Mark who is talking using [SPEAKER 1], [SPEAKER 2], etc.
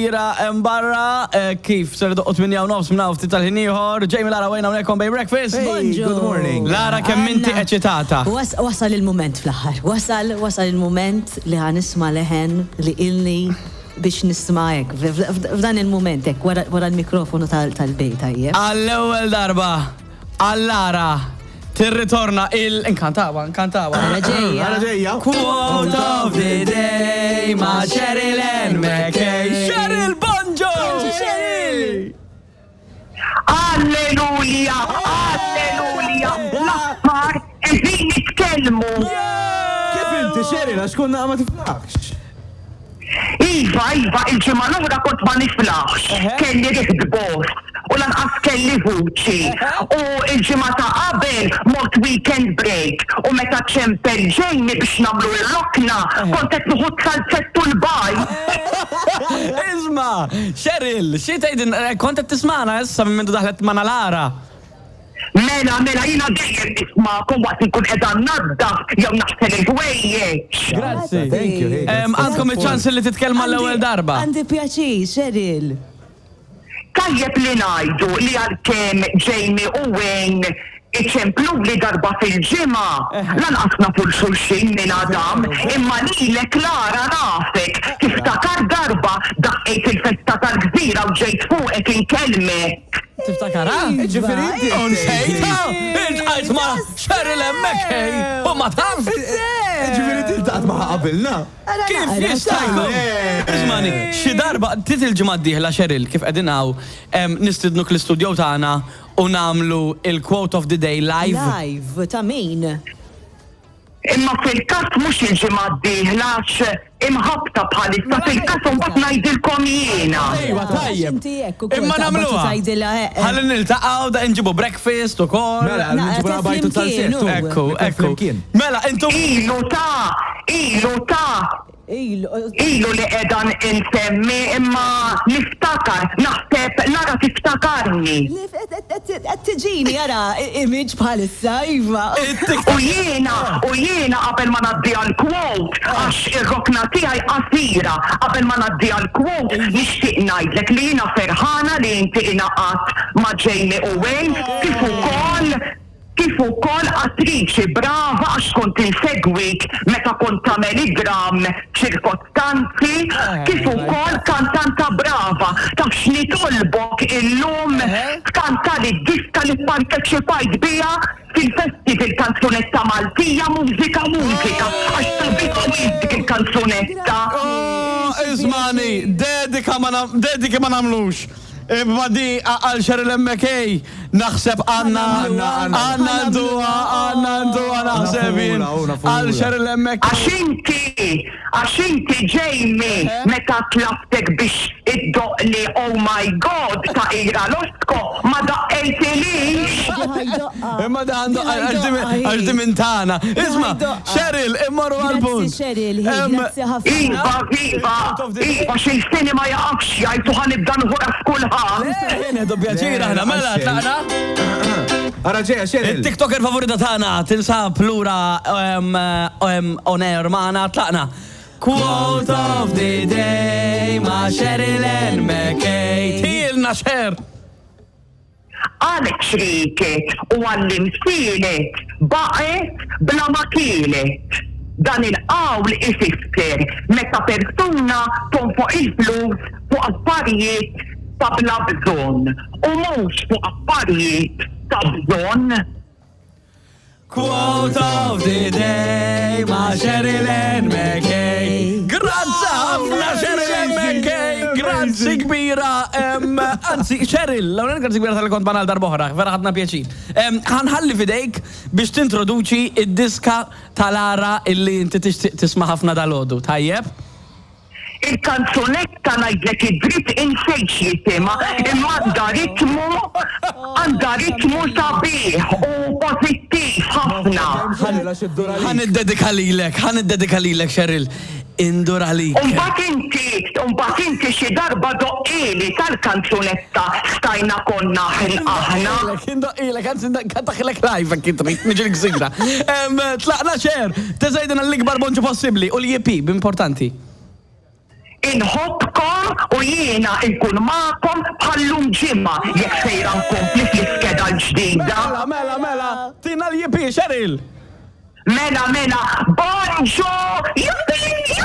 [SPEAKER 1] Ira hemm barra eh, kif ser doqqu 8 u nofs minn hawn ftit tal-ħin ieħor. Jamie Lara Wayne hawnhekk on Bay Breakfast.
[SPEAKER 2] Hey, good morning.
[SPEAKER 1] Lara kemm inti eċitata.
[SPEAKER 3] Wasal il-mument fl-aħħar. Wasal, wasal il-mument li ħa nisma' leħen li ilni biex nisma' hekk. F'dan il-mument hekk wara l-mikrofonu tal-bej tajjeb.
[SPEAKER 1] Għall-ewwel darba għal Lara tirritorna il inkantawa, inkantawa.
[SPEAKER 3] Ara ġejja.
[SPEAKER 2] Ara ġejja.
[SPEAKER 1] Quote of the day ma' Cheryl Ann McKay. Cheryl Bonġo!
[SPEAKER 3] Cheryl!
[SPEAKER 4] Alleluja! Alleluja! L-aħħar qegħdin nitkellmu.
[SPEAKER 2] Kif inti Cheryl għax konna ma tiflaħx?
[SPEAKER 4] Iva, iva, il-ġimgħa l-oħra kont ma niflaħx, kelli riħ bost u lanqas kelli vuċi. U l-ġimgħa ta' qabel mort weekend break u meta ċempel Jamie biex nagħmlu r-rokna kont qed nieħu t-salzett u l-bajd.
[SPEAKER 1] Isma', Cheryl, xi tgħidilna, kont qed tismagħna issa minn mindu daħlet magħna Lara?
[SPEAKER 4] Mela, mela, jiena dejjem nismagħkom waqt li nkun qiegħda nnaddaf jew naħsel il-ħwejjeġ.
[SPEAKER 1] Grazzi.
[SPEAKER 2] Thank you. Hey,
[SPEAKER 1] Em, Għandkom iċ-ċans li titkellmu għall-ewwel darba.
[SPEAKER 3] Għandi pjaċir, Cheryl.
[SPEAKER 4] Tajjeb li ngħidu li għalkemm Jamie u Wayne iċempluli darba fil-ġimgħa, lanqas nafu 'l xulxin minn Adam, imma lilek Lara nafek, tiftakar darba daqqejt il-festa tal-gżira u ġejt fuqek inkellmek.
[SPEAKER 1] Tiftakarha?
[SPEAKER 2] Ġifieri inti.
[SPEAKER 1] U nsejtha! Iltqajt ma' Cheryl hemmhekk hey! U ma tafx!
[SPEAKER 2] Ġifieri inti ltaqgħet magħha qabilna.
[SPEAKER 1] Kif jista' jkun? Ismani, xi darba, tit il-ġimgħa d-dieħla Cheryl, kif qegħdin hawn, nistidnuk l-istudio tagħna u nagħmlu il-quote of the day live.
[SPEAKER 3] Live, ta' min?
[SPEAKER 4] Imma fil-każ mhux il-ġimgħa d-dieħla għax imħabbta bħalissa fil-każ u mbagħad ngħidilkom jiena.
[SPEAKER 1] Ejwa tajjeb. Imma nagħmluha. Ħalli niltaqgħu da nġibu breakfast ukoll.
[SPEAKER 2] Mela, nġibu bajtu tal-settu.
[SPEAKER 1] Ekku, ekku. Mela, intom.
[SPEAKER 4] Ilu ta' ilu ta' Ilu li qiegħda nsemmi imma niftakar, naħseb Lara tiftakarni.
[SPEAKER 3] Qed tiġini ara image bħalissa, iva.
[SPEAKER 4] U jiena, u jiena qabel ma ngħaddi għall-quote, għax ir-rokna tiegħi qasira, qabel ma ngħaddi għall-quote nixtieq ngħidlek li jiena ferħana li inti ingħaqadt ma' Jamie u Wayne kif ukoll Kif ukoll attriċi brava għax kont insegwik meta kont tagħmel id-dramm Ċirkostanzi, kif ukoll kantanta brava. Taf x'nitolbok illum? Tkantali d-diska li pparteċipajt biha fil-festival Kanzunetta Maltija Mużika Mużika għax sabiħa wisq dik il-kanzunetta.
[SPEAKER 1] Oh, ismani, dedika ma dediki ma nagħmlux. Imma di għal Cheryl McKay naħseb għanna għanna nduha għanna nduha naħseb jien għal Cheryl McKay.
[SPEAKER 4] Għax inti, għax inti Jamie meta tlabtek biex iddoqqli Oh My God ta' Ira Losco ma daqqejtilix.
[SPEAKER 1] Imma da għandu għax di minn tagħna. Isma' Cheryl immorru għall-punt.
[SPEAKER 3] Grazzi Cheryl, hi, grazzi ħafna.
[SPEAKER 4] Iva, iva, iva, xi lsieni ma jaqafx jgħid u ħa nibda nħu ras kulħadd.
[SPEAKER 1] Nieħdu pjaċir aħna, mela tlaqna.
[SPEAKER 2] Ara ġejja Cheryl.
[SPEAKER 1] Il-TikToker favorita tagħna tinsab lura on air magħna tlaqna. Quote of the day ma' Cheryl Ann McKay. Tilna Cher!
[SPEAKER 4] Għal ċrieket u għall-imsielet baqgħet bla ma kielet. Dan il-qawl ifisser meta persuna tonfoq il-flus fuq affarijiet ta' bla bżonn u mhux fuq affarijiet ta' bżonn.
[SPEAKER 1] Quote of the day ma' Sheryl Ann McKay. Grazzi ħafna Sheryl Ann McKay, grazzi kbira. Anzi, Sheryl, l-ewwel grazzi kbira tal-li kont magħna għal darb'oħra, vera ħadna pjaċir. Ħanħalli f'idejk biex tintroduċi id-diska ta' Lara illi inti tixtieq tisma' ħafna dalgħodu. Tajjeb?
[SPEAKER 4] Il-kanzunetta ngħidlek id-dritt insejt x'jisimha imma għandha ritmu għandha ritmu sabiħ u pożittiv ħafna.
[SPEAKER 1] Ħa niddedika lilek, ħa niddedika lilek Cheryl. Indur għalik.
[SPEAKER 4] U mbagħad inti, u mbagħad inti xi darba doqqili tal-kanzunetta Stajna konna aħna.
[SPEAKER 1] Indoqqilek, anzi nkantaħilek live jekk trid, niġi l-gżira. Tlaqna Cher, teżgħidilna l-ikbar bonġu possibbli u l-EP, b'importanti.
[SPEAKER 4] Inħobbkom u jiena nkun magħkom bħal-lum ġimgħa jekk sejra nkompli fl-iskeda l-ġdida.
[SPEAKER 1] Mela, mela, mela, tina l-yippee, Cheryl!
[SPEAKER 4] Mela, mela, bonġu! Yippee!